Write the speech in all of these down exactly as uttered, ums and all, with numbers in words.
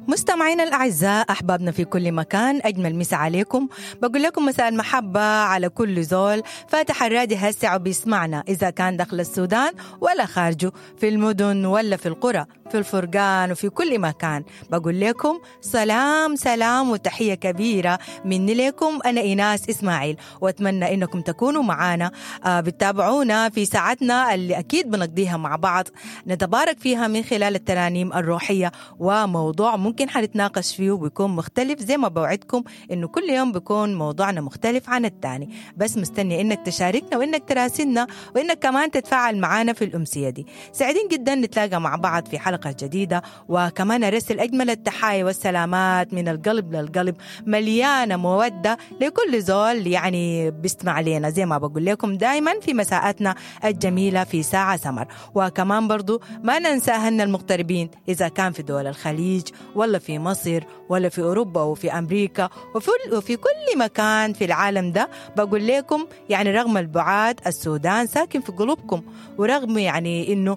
مستمعينا الأعزاء، أحبابنا في كل مكان، أجمل مسا عليكم. بقول لكم مساء المحبة على كل زول فاتح الرادي هسع وبيسمعنا، إذا كان داخل السودان ولا خارجه، في المدن ولا في القرى، في الفرقان وفي كل مكان. بقول لكم سلام سلام وتحية كبيرة مني لكم، أنا إيناس إسماعيل، وأتمنى إنكم تكونوا معانا بتتابعونا في ساعتنا اللي أكيد بنقضيها مع بعض، نتبارك فيها من خلال الترانيم الروحية وموضوع ممكن حنتناقش فيه وبيكون مختلف، زي ما بوعدكم إنه كل يوم بيكون موضوعنا مختلف عن الثاني. بس مستني إنك تشاركنا وإنك تراسلنا وإنك كمان تتفاعل معانا في الأمسية دي. سعيدين جدا نتلاقى مع بعض في حلقة جديدة، وكمان أرسل أجمل التحايا والسلامات من القلب للقلب، مليانة مودة لكل زول يعني بيستمع لنا، زي ما بقول لكم دايما في مساءاتنا الجميلة في ساعة سمر. وكمان برضو ما ننسى أهلنا المغتربين، إذا كان في دول الخليج ولا في مصر ولا في أوروبا وفي أمريكا وفي, وفي كل مكان في العالم ده، بقول لكم يعني رغم البعاد السودان ساكن في قلوبكم، ورغم يعني إنه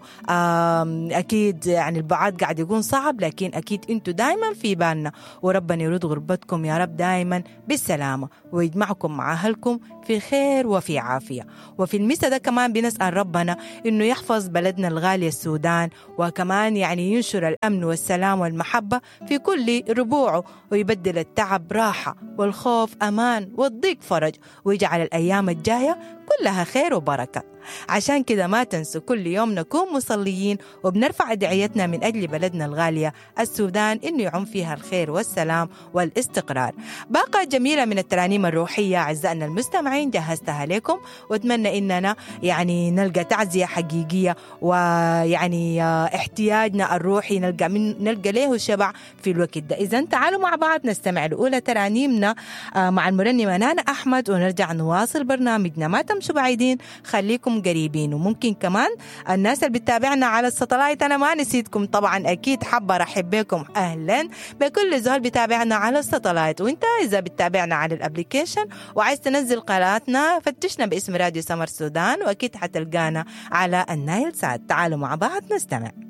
أكيد يعني البعاد قاعد يكون صعب، لكن أكيد أنتوا دايما في بالنا، وربنا يرد غربتكم يا رب دايما بالسلامة ويجمعكم مع أهلكم في خير وفي عافية. وفي المسا ده كمان بنسأل ربنا إنه يحفظ بلدنا الغالي السودان، وكمان يعني ينشر الأمن والسلام والمحبة في كل ربوعه، ويبدل التعب راحة والخوف أمان والضيق فرج، ويجعل الأيام الجاية كلها خير وبركة. عشان كده ما تنسوا كل يوم نكون مصليين وبنرفع دعيتنا من أجل بلدنا الغالية السودان، إنه يعم فيها الخير والسلام والاستقرار. باقة جميلة من الترانيم الروحية أعزائنا المستمعين جهزتها لكم، وأتمنى إننا يعني نلقى تعزية حقيقية، ويعني احتياجنا الروحي نلقى من نلقى له شبع في الوقت ده. إذن تعالوا مع بعض نستمع لأولى ترانيمنا مع المرنمة نانا أحمد، ونرجع نواصل برنامجنا. ما تمشوا بعيدين، خليكم قريبين. وممكن كمان الناس اللي بتتابعنا على الساتلايت، أنا ما نسيتكم طبعا، أكيد حابة أرحب بكم، أهلا بكل زول بتابعنا على الساتلايت. وانت إذا بتتابعنا على ال application وعايز تنزل قناتنا، فتشنا باسم راديو سمر سودان، وأكيد حتلقانا على النايل سات. تعالوا مع بعض نستمع.